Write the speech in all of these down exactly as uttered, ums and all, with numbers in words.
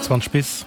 Zwanzeg bis.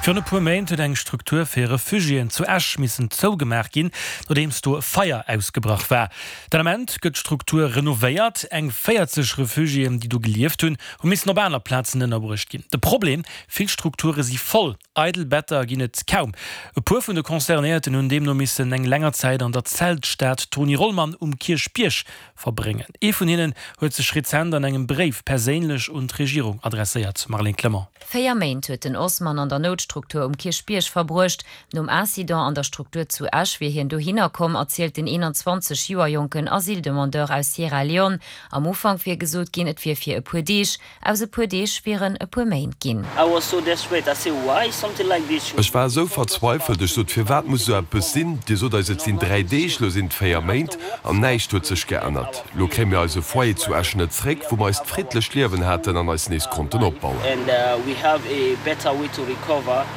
Virun e puer Méint huet eng Struktur fir Refugiéen zu Esch missen zougemaach ginn, nodeems do e Feier ausgebrach war. Den Ament gëtt d'Struktur renovéiert. Eng véierzeg Refugiéen, déi do gelieft hunn, hu missen op aner Plazen ënnerbruecht ginn. De Problem, Vill Strukture si voll, eidel Better ginn et kaum. E puer vun de Concernéierten hunn deemno missen eng länger Zäit an der Zeltstad Tony Rollmann um Kierchbierg verbréngen. Ee vun hinnen huet sech rezent an engem Bréif perséinlech un d'Regierung adresséiert. Marlène Clement. Véier Méint huet den Osman an der Noutstruktur um Kierchbierg verbruecht. Nom Incident an der Struktur zu Esch wier hien dohinner komm, erzielt den eenanzwanzeg Joer jonken Asyldemandeur aus Sierra Leone. Am Ufank wier gesot ginn, et wier fir e puer Deeg. Aus e puer Deeg wieren e puer Méint ginn. Ech war esou verzweifelt, ech sot, Firwat muss esou eppes sinn? Dir sot eis, et sinn dräi Deeg, lo sinn et véier Méint an näischt huet sech geännert. Lo kréie mir eise Foyer zu Esch net zréck, wou mer eist friddlecht Liewen haten an eis nees konnten opbauen.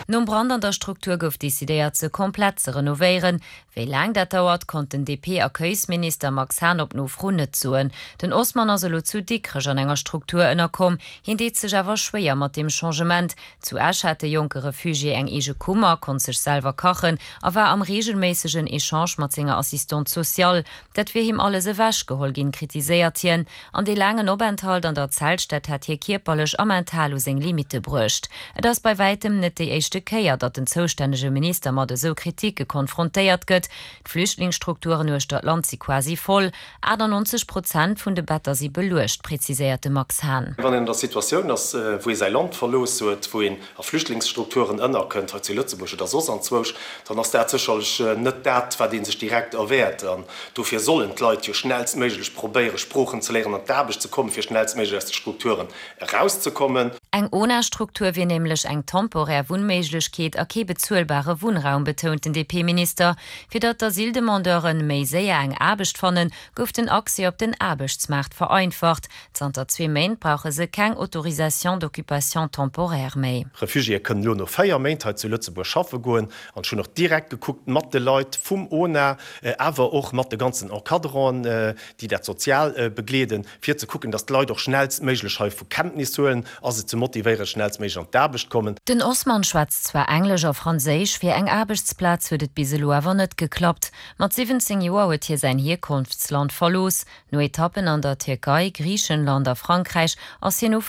Nom Brand an der Struktur gouf decidéiert, se komplett ze renovéieren. Wéi laang dat dauert, konnt den D P-Accueilsminister Max Hahn op Nofro net soen. Den Osman ass elo zu Dikrech an enger Struktur ënnerkomm. Hien deet sech awer schwéier mat deem Changement. Zu Esch hat de jonke Refugié eng eege Kummer, konnt sech selwer kachen a war am reegelméissegen Echange mat senger Assistante sociale. Dat wier him alles ewechgeholl ginn, kritiséiert hien. An dee laangen Openthalt an der Zeltstad hätt hie kierperlech a mental u seng Limitte bruecht. Et ass bei wäitem net déi éischte Kéier, datt den zoustännege Minister mat esou Kritike konfrontéiert gëtt. D'Flüchtlingsstrukturen uechter d'Land si quasi voll, achtannonzeg Prozent vun de Better si beluecht, preziséiert de Max Hahn. Wann een an der Situatioun ass, wou ee säi Land verlooss huet, wou een a Flüchtlingsstrukturen ënnerkënnt, hei zu Lëtzebuerg oder soss anzwousch, dann ass dat sécherlech net dat, wat ee sech direkt erwaart. An dofir sollen d'Leit jo schnellstméiglech probéieren, Sproochen ze léieren, an d'Aarbecht ze kommen, fir schnellstméiglech aus de Strukturen erauszekommen. Eng O N A-Struktur wier nämlech eng temporär Wunnméiglechkeet a kee bezuelbare Wunnraum, betount den D P-Minister. Fir datt d'Asyldemandeure méi séier eng Aarbecht fannen, gouf den Accès op den Aarbechtsmaart vereinfacht. Zanter zwee Méint brauche se keng Autorisation d'occupation temporaire méi. Refugiéë kënnen elo no véier Méint hei zu Lëtzebuerg schaffe goen. An ech hunn och direkt gekuckt mat de Leit vum O N A, awer och mat de ganzen Encadranten, déi dat sozial begleeden, fir ze kucken, datt d'Leit och schnellstméiglech hei vu Kenntnis huelen a se ze motivéieren, schnellstméiglech an d'Aarbecht kommen. Den Osman schwätzt zwar Englesch a Franséisch, fir eng Aarbechtsplaz huet et bis elo awer net geklappt. Mat siwwenzéng Joer huet hie säin Hierkonftsland verlooss. No Etappen an der Tierkei, Griichenland a Frankräich ass hien Ufank.